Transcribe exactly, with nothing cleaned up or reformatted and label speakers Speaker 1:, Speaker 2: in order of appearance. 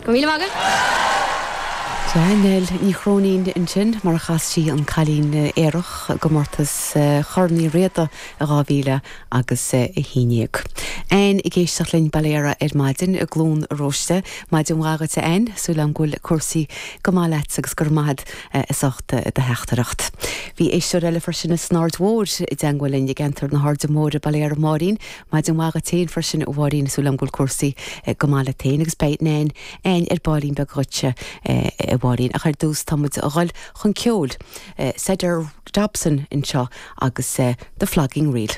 Speaker 1: Go míle maith agat?
Speaker 2: Sea, Nell Ní Chróinín ansin mar a chas sí an Cailín Aerach i gcomórtas Chorn Uí Riada i dhá mhíle agus a haon déag. Ann ag éisteacht linn Baile Heara ar maidin i gCluain Róiste. Maidin mhaith dhuit a Ann, súil agam go bhfuil cúrsaí go maith leat agus go raibh maith agat as ucht do theachtaireacht. Bhí éisteoir eile freisin san Aird Mhór i dteagmháil linn i gceantar na hAirde Móire Baile Heara Máirín, Maidin mhaith dhuit féin freisin a Mháirín, súil agam go bhfuil cúrsaí go maith leat féin agus beidh Nain Ann ar baillín beag dhuitse a Mháirín ach ar dtús tá muid ag dul chun ceoil. Cedar Dobson anseo agus The Flogging Reel.